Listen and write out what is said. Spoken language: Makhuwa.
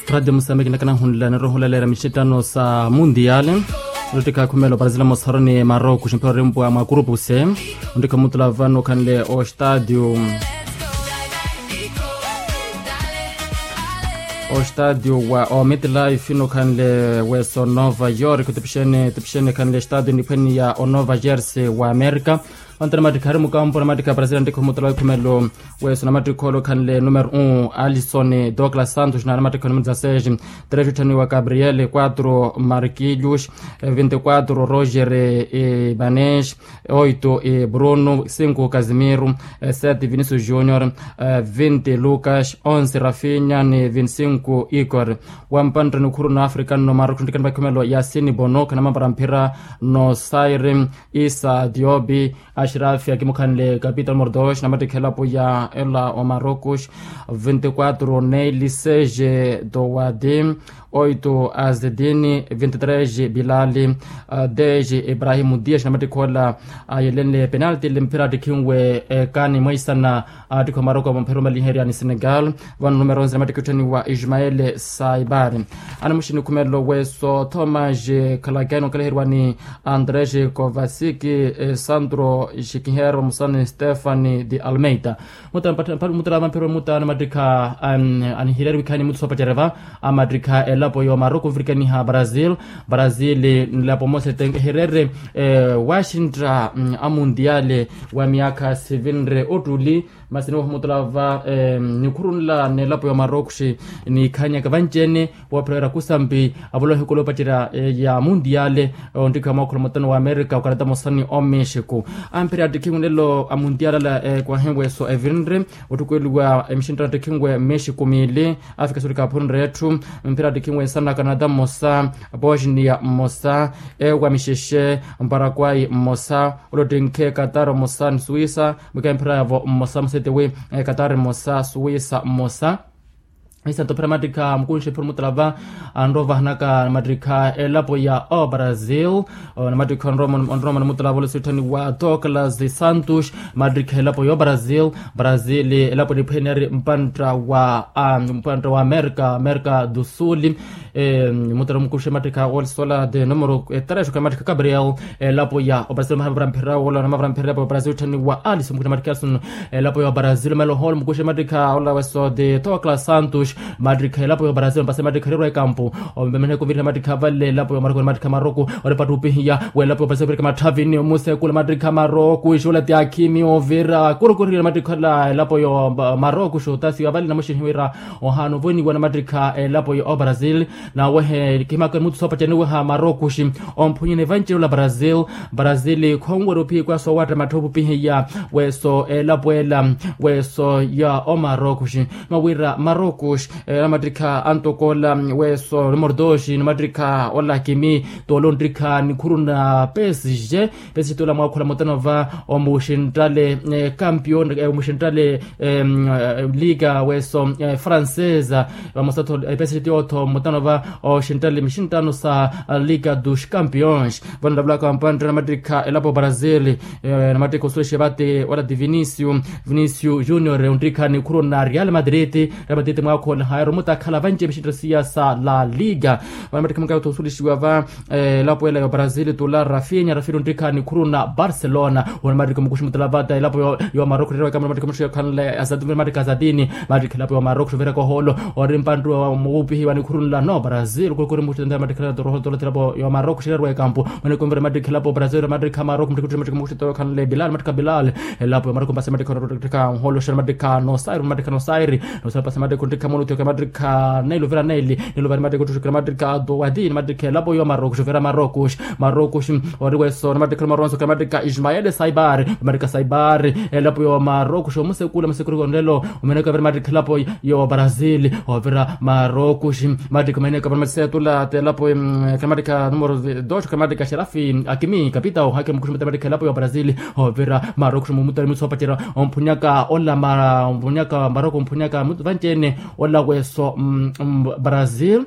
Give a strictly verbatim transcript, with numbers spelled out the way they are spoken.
Radiyo musambiki nakanahunlani rohulaleera mixitano sa mundiyaali. Olottikha akhumela oparasila mosaroni maroko ximpira orimpwa mwa kurupu se. Ontikha omutula vano okhanle ostadio ostadio wa omitlife nokhanle weso nova york tipixene tipixene khanle stadio niphweniya onova jersey wa amerika. Ontana mattikha ari mukampo na mattikha a parasila ntikha omutula wa ikhumelo. Weso na mattikha olokhanle numero un alison douglas santos na na mattikha numero dezasseis. Tres utthaniwa gabriel quatro marquillos, vinti quatro roger, banes, oito bruno cinco casimiro, sete vinicius junior, vinti lucas, onze rafinya ni vinti cinco igor. Wampantta nikhuru na african no maroko ntikani vakhumelo ya sini bono khanamapara mphira no sairi, isa diobi, ashirafi akimukhanle capitol mordos na mattikha elapo ya ela omarokos, vinti quatro neili seje dowadi, oito azedini, vinti tres bilali, deje ibrahimu dias na mattikha ola ayelenle penalti le mphira attikhinwe. Kani mweisana attikha omaroko mphira omaliherya ni senegal. Vano numero onze na mattikha otthaniwa ismael saibari. Anamuxini khumelo weso thomas khalakeno kalaherwa ni andres kovasiki, sandro xikinhero musani stefani de almeida. Mutala mutala mapero mutala na mattikha anihireri wikhani muthu sopacereva. Amattikha elapo yo maroko nvirikaniha brazil. Brazil nlapo mose tenkeherere waxintta amundiale wa miakha sivinre ottuli. Masi niwoha mutala va nikhurunla n'elapo ya omarokxi nikhanyaka vanci-ene. Woophera wira kusampi avolowa ehikolo opacerya ya mundiale. Onttikha mwaakhulo mutano wa amerika okarata mosani omexico. Ampherya attikhinwe nlelo a mundiale ala ekwahiwe so evinre ottukweliwa emixinttano attikhinwe mexico miili. Afika sorika aphunre etthu mphira attikhinwe nsana canada mmosa, bosnia mmosa, ewa mixexe, paraguay mmosa, olottinkhe qatar mmosa ni suwisa. Mwikaya mphira yavo mmosa musetiwi, qatar mmosa suwisa mmosa. Isanto phira mattikha mukunxe phira mutala va anrovahanaka mattikha elapo ya obrazil. Namattikha onroma nimutala volosi otthaniwa douglas santos. Mattikha elapo ya obrazil. Brazil elapo niphwene ari mpantta wa mpantta wa amerika amerika do sul. Mutala mukuxe mattikha olsola de numero tres okamattikha gabriel. Elapo ya obrazil mahavira mphira wola namavira mphira elapo ya obrazil otthaniwa alison mukuxe mattikha alison. Elapo ya obrazil melo holo mukuxe mattikha ola weso de douglas santos. Mattikha elapo ya obrazil mpase mattikha rerwa ekampu. Omemenehe kuvirira mattikha vale elapo ya maroko mattikha maroko. Oripattupihiya welapo opasa ovirika matthavini omusekula mattikha maroko ixola ti akhimi ovira kurukurihile mattikha ola elapo yo maroko xotasiwa vale namuxinihiwira. Ohaana ovoniwa na mattikha elapo yo obrazil. Nawehe kihimaka muthu soopacaniweha maroko xi omphunyene vanci ola brazil. Brazil khonwera ophiya ikwaso owatta mattha opupihiya weso elapo ela weso ya omaroko xi. Mawira maroko xi namattikha antokoola weso numero dos namattikha ola kimi. Toolo nttikha nikhuru na psg. Psg toolo amwaakhola mutano va omuxinttale campion omuxinttale liga weso francesa. Vamosa tho psg tiyootho mutano va oxinttale mixinttano sa liga dos campions. Vano nlavulaka vampantta namattikha elapo brazil. Namattikha osulexe vate ola ti vinicio vinicio junior onttikha nikhuru na real madrid. Real madrid mwaakhola haero mutakhala vanci mixinttano siya sa la liga. Vano mattikha mukayootho osulexiwa va elapo ela ya brazil tula rafinya rafinya onttikha nikhuru na barcelona. Ona mattikha mukuxi mutala vata elapo ya maroko rerwa ekamula mattikha muxi okhanle azadini mattikha azadini. Mattikha elapo ya maroko xovira koholo ori mpantu wa muwupihi wa nikhuru nla no brazil kurukuri muxi tentera mattikha elapo toroho tolothela po ya maroko xirerwa ekampu. Mweneko mvira mattikha elapo brazil mattikha maroko muttikha muttikha muxi tokhanle bilal mattikha bilal. Elapo ya maroko mpasa mattikha onrottekha nholo xera mattikha nosairi mattikha nosairi. Nosairi pasa mattikha onttikha mono tioka mattikha naili ovira naili. Niluvari mattikha ottuxukira mattikha ato wati ni mattikha elapo ya maroko xovira maroko xi maroko xi. Ori weso namattikha omaronso ka mattikha ismael saibar. Mattikha saibar elapo ya maroko xi omusekula musekula konrelo. Omeneko avira mattikha elapo ya brazil ovira maroko xi. Mattikha omeneko avira mattikha setula telapo ka mattikha numero dos ka mattikha xerafi akimi kapitao hake mukuxi mattikha elapo ya brazil. Ovira maroko xi mumutari mutsopacerya omphunyaka ola omphunyaka maroko omphunyaka vanci-ene ola weso brazil.